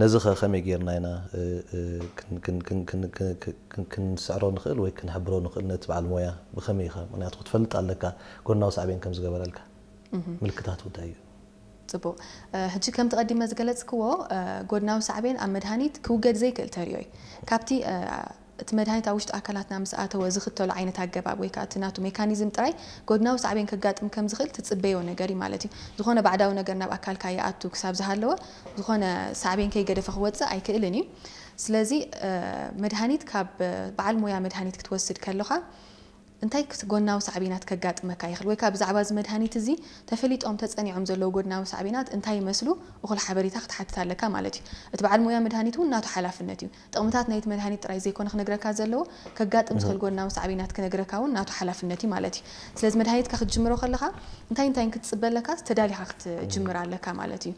ነዚ ከ ከመይ ጌርና ኢና ክንስዕሮ ንኽእል ወይ ክንሕብሮ ንኽእል ነቲ በዓል ሞያ ብኸመይ ኢኻ? ምክንያቱ ክትፈልጥ ኣለካ ጎድናዊ ሳዕቤን ከም ዝገበረልካ። ምልክታቱ እንታይ እዩ? ጽቡቕ። ሕጂ ከምቲ ቀዲመ ዝገለጽክዎ ጎድናዊ ሳዕቤን ኣብ መድሃኒት ክውገድ ዘይክእል ተርእዮ እዩ። ካብቲ እቲ መድሃኒት ኣብ ውሽጢ ኣካላትና ምስ ኣተወ ዝኽተሎ ዓይነት ኣገባብ ወይ ከዓ እቲ ናቱ ሜካኒዝም ጥራይ ጎድናዊ ሳዕቤን ከጋጥም ከም ዝኽእል ትጽበዮ ነገር እዩ ማለት እዩ። ዝኾነ ባዕዳዊ ነገር ናብ ኣካልካ ይኣቱ ክሳብ ዝሃለወ ዝኾነ ሳዕቤን ከይገደፈ ክወፅእ ኣይክእልን እዩ። ስለዚ መድሃኒት ካብ በዓል ሞያ መድሃኒት ክትወስድ ከለኻ እንታይ ጎናዊ ሳዕቤናት ከጋጥመካ ይኽእል ወይ ከዓ ብዛዕባ እዚ መድሃኒት እዚ ተፈሊጦም ተፀኒዖም ዘለዉ ጎድናዊ ሳዕቤናት እንታይ ይመስሉ እኹል ሓበሬታ ክትሓትት ኣለካ ማለት እዩ። እቲ በዓል ሞያ መድሃኒት እውን ናቱ ሓላፍነት እዩ። ጥቕምታት ናይቲ መድሃኒት ጥራይ ዘይኮነ ክነግረካ ዘለዎ ከጋጥም ዝኽእል ጎናዊ ሳዕቤናት ክነግረካ እውን ናቱ ሓላፍነት እዩ ማለት እዩ። ስለዚ መድሃኒትካ ክትጅምሮ ከለኻ እንታይ እንታይ ክትፅበ ኣለካ ተዳሊኻ ክትጅምር ኣለካ ማለት እዩ።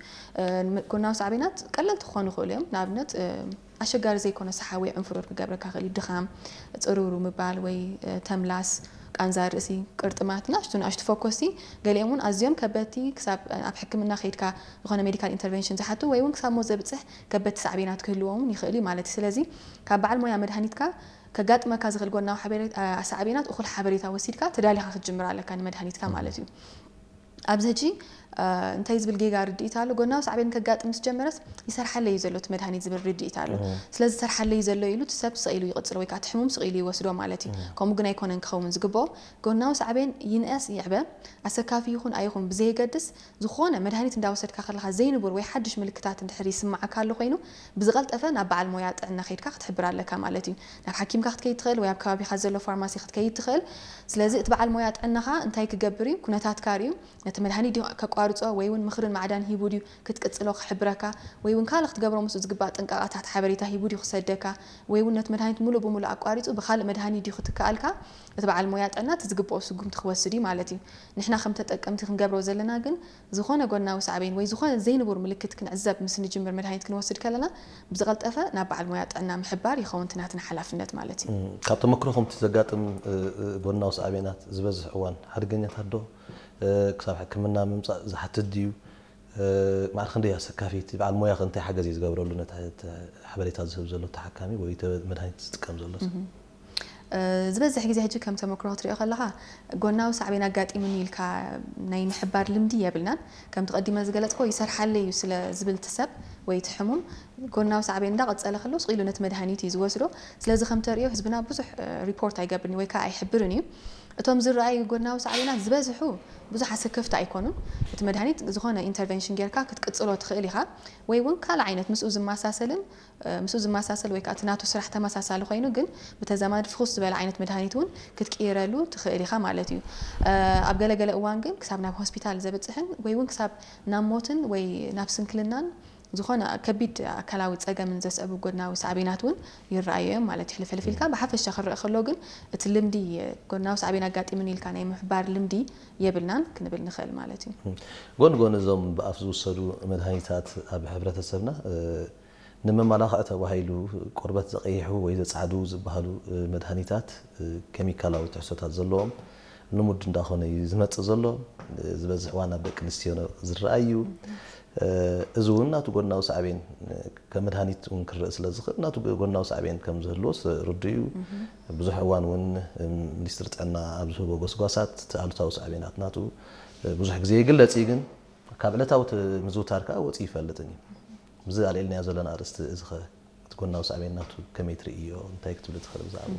ጎናዊ ሳዕቤናት ቀለልቲ ክኾኑ ይኽእሉ እዮም። ንኣብነት ኣሸጋሪ ዘይኮነ ሰሓ ወይ ዕንፍሩር ክገብረካ ክእል እዩ። ድኻም፣ ፅርውሩ ምባል ወይ ተምላስ፣ ቃንዛ ርእሲ፣ ቅርጥማት፣ ንኣሽቱ ንኣሽቱ ፈኮስቲ፣ ገሊኦም እውን ኣዝዮም ከበድቲ ክሳብ ኣብ ሕክምና ከይድካ ዝኾነ ሜዲካል ኢንተርቨንሽን ዝሓቱ ወይ እውን ክሳብ ሞት ዘብፅሕ ከበድቲ ሳዕቤናት ክህልዎም እውን ይኽእል እዩ ማለት እዩ። ስለዚ ካብ በዓል ሞያ መድሃኒትካ ከጋጥመካ ዝኽእል ጎናዊ ሳዕቤናት እኹል ሓበሬታ ወሲድካ ተዳሊኻ ክትጅምር ኣለካ ንመድሃኒትካ ማለት እዩ። ኣብዚ ሕጂ እንታይ ዝብል ጌጋ ርድኢት ኣሎ? ጎናዊ ሳዕቤን ከጋጥም ምስ ጀመረስ ይሰርሓለይ እዩ ዘሎ እቲ መድሃኒት ዝብል ርድኢት ኣሎ። ስለዚ ይሰርሓለይ እዩ ዘሎ ኢሉ እቲ ሰብ ስቕ ኢሉ ይቕጽሎ ወይ ከዓ እቲ ሕሙም ስቕ ኢሉ ይወስዶ ማለት እዩ። ከምኡ ግን ኣይኮነን ክኸውን ዝግብኦ። ጎናዊ ሳዕቤን ይንኣስ ይዕበ ኣሰካፊ ይኹን ኣይኹን ብዘየገድስ ዝኾነ መድሃኒት እንዳወሰድካ ከለኻ ዘይንቡር ወይ ሓድሽ ምልክታት እንድሕር ይስምዓካ ኣሎ ኮይኑ ብዝቐልጠፈ ናብ በዓል ሞያ ጥዕና ከይድካ ክትሕብር ኣለካ ማለት እዩ። ናብ ሓኪምካ ክትከይድ ትኽእል ወይ ኣብ ከባቢኻ ዘሎ ፋርማሲ ክትከይድ ትኽእል። ስለዚ እቲ በዓል ሞያ ጥዕናኻ እንታይ ክገብር እዩ? ኩነታትካ ርእዩ ነቲ መድሃኒት ድዩ ከቋርጾ ወይ እውን ምኽርን ማዕዳን ሂቡ ድዩ ክትቅጽሎ ክሕብረካ ወይ እውን ካልእ ክትገብሮ ምስኡ ዝግባእ ጥንቃቐታት ሓበሬታ ሂቡ ድዩ ክሰደካ ወይ እውን ነቲ መድሃኒት ሙሉእ ብሙሉእ ኣቋሪጹ ብኻልእ መድሃኒት ድዩ ክትከኣልካ እቲ በዓል ሞያ ጥዕና እቲ ዝግብኦ ስጉምቲ ክወስድ እዩ ማለት እዩ። ንሕና ከም ተጠቀምቲ ክንገብሮ ዘለና ግን ዝኾነ ጎናዊ ሳዕቤን ወይ ዝኾነ ዘይንቡር ምልክት ክንዕዘብ ምስ ንጅምር መድሃኒት ክንወስድ ከለና ብዝቐልጠፈ ናብ በዓል ሞያ ጥዕና ምሕባር ይኸውን እቲ ናትና ሓላፍነት ማለት እዩ። ካብ ተመክሮኹም እቲ ዘጋጥም ጎናዊ ሳዕቤናት ዝበዝሕ እዋን ሓደገኛታት ዶ ክሳብ ሕክምና ምምፃእ ዝሓትት ድዩ? ማዕረ ክንደይ ኣሰካፊ እቲ በዓል ሞያ ከ እንታይ ሓገዝ እዩ ዝገብረሉ ነቲ ሓበሬታ ዝህብ ዘሎ ተሓካሚ ወይ መድሃኒት ዝጥቀም ዘሎ ሰብ? ዝበዝሕ ግዜ ሕጂ ከም ተመክሮ ክትሪኦ ከለኻ ጎናዊ ሳዕቤን ኣጋጢሙኒ ኢልካ ናይ ምሕባር ልምዲ የብልናን። ከምቲ ቀዲመ ዝገለፅኮ ይሰርሓለይ እዩ ስለ ዝብል እቲ ሰብ ወይ እቲ ሕሙም ጎናዊ ሳዕቤን እንዳቐፀለ ከሎ ስቕ ኢሉ ነቲ መድሃኒት እዩ ዝወስዶ። ስለዚ ከም ተሪኦ ህዝብና ብዙሕ ሪፖርት ኣይገብርን ወይ ከዓ ኣይሕብርን እዩ። እቶም ዝረኣዩ ጎናዊ ሳዕቤናት ዝበዝሑ ብዙሕ ኣሰከፍቲ ኣይኮኑን። እቲ መድሃኒት ዝኾነ ኢንተርቨንሽን ጌርካ ክትቅፅሎ ትኽእል ኢኻ ወይ እውን ካልእ ዓይነት ምስኡ ዝመሳሰልን ምስኡ ዝመሳሰል ወይ ከዓ እቲ ናቱ ስራሕ ተመሳሳሊ ኮይኑ ግን ብተዛማዲ ፍኹስ ዝበለ ዓይነት መድሃኒት እውን ክትቅይረሉ ትኽእል ኢኻ ማለት እዩ። ኣብ ገለገለ እዋን ግን ክሳብ ናብ ሆስፒታል ዘብፅሕን ወይ እውን ክሳብ ናብ ሞትን ወይ ናብ ስንክልናን ዝኾነ ከቢድ ኣካላዊ ፀገምን ዘስዕቡ ጎድናዊ ሳዕቤናት እውን ይረኣዩ እዮም ማለት እዩ። ሕልፍሕልፍ ኢልካ ብሓፈሻ ክረአ ከሎ ግን እቲ ልምዲ ጎድናዊ ሳዕቤን ኣጋጢሙኒ ኢልካ ናይ ምሕባር ልምዲ የብልናን ክንብል ንኽእል ማለት እዩ። ጎን ጎን እዞም ብኣፍ ዝውሰዱ መድሃኒታት ኣብ ሕብረተሰብና ንምመላኽዒ ተባሂሉ ቆርበት ዘቐይሑ ወይ ዘጻዕዱ ዝበሃሉ መድሃኒታት ኬሚካላዊ ትሕዝቶታት ዘለዎም ልሙድ እንዳኾነ እዩ ዝመጽእ ዘሎ። ዝበዝሕ እዋን ኣብ ደቂ ኣንስትዮ ዝረኣይ እዩ። እዚ እውን ናቱ ጎናዊ ሳዕቤን ከም መድሃኒት እውን ክረአ ስለ ዝኽእል ናቱ ጎናዊ ሳዕቤን ከም ዝህልዎ ርዱእ እዩ። ብዙሕ እዋን እውን ሚኒስትሪ ጥዕና ኣብ ዝህቦ ጎስጓሳት እቲ ኣሉታዊ ሳዕቤናት ናቱ ብዙሕ ግዜ ይግለጽ እዩ፣ ግን ካብ ዕለታዊ ምዝውታር ከዓ ወፂኡ ይፈልጥን እዩ። ብዚ ኣልዒልናዮ ዘለና ኣርእስቲ እዚ ኸ እቲ ጎናዊ ሳዕቤን ናቱ ከመይ ትርእዮ? እንታይ ክትብሊ ትኽእል ብዛዕባኡ?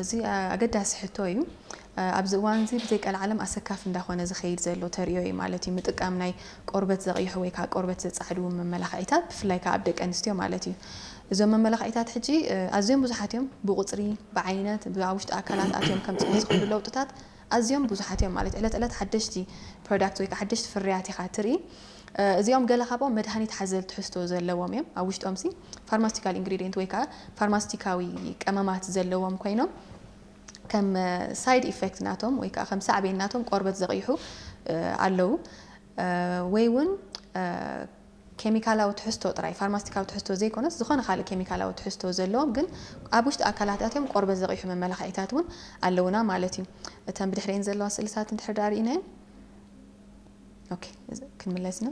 እዚ ኣገዳሲ ሕቶ እዩ። ኣብዚ እዋን እዚ ብዘይቀልዓለም ኣሰካፊ እንዳኾነ ዝኸይድ ዘሎ ተርእዮ እዩ ማለት እዩ። ምጥቃም ናይ ቆርበት ዘቕይሑ ወይ ከዓ ቆርበት ዘጻዕዱ መመላኽዒታት ብፍላይ ከዓ ኣብ ደቂ ኣንስትዮ ማለት እዩ። እዞም መመላኽዒታት ሕጂ ኣዝዮም ብዙሓት እዮም። ብቁፅሪ፣ ብዓይነት፣ ኣብ ውሽጢ ኣካላት ኣትዮም ከምፅኡ ዝኽእሉ ለውጥታት ኣዝዮም ብዙሓት እዮም ማለት ዕለት ዕለት ሓደሽቲ ፕሮዳክት ወይ ከዓ ሓደሽቲ ፍርያት ኢኻ ትርኢ። እዚኦም ገለ ካብኦም መድሃኒት ሓዘል ትሕዝቶ ዘለዎም እዮም። ኣብ ውሽጦም ሲ ፋርማስቲካል ኢንግሪዲየንት ወይ ከዓ ፋርማስቲካዊ ቀመማት ዘለዎም ኮይኖም ከም ሳይድ ኢፌክት ናቶም ወይ ከዓ ከም ሳዕቤን ናቶም ቆርበት ዘቕይሑ ኣለዉ ወይ እውን ኬሚካላዊ ትሕዝቶ ጥራይ ፋርማስቲካዊ ትሕዝቶ ዘይኮነስ ዝኾነ ካልእ ኬሚካላዊ ትሕዝቶ ዘለዎም ግን ኣብ ውሽጢ ኣካላት ኣትዮም ቆርበት ዘቕይሑ መመላኽዒታት እውን ኣለውና ማለት እዩ። እተን ብድሕሪአን ዘለዋ ስእልታት እንድሕር ዳኣ ርኢናየን ኦኬ ክንምለስ ኢና።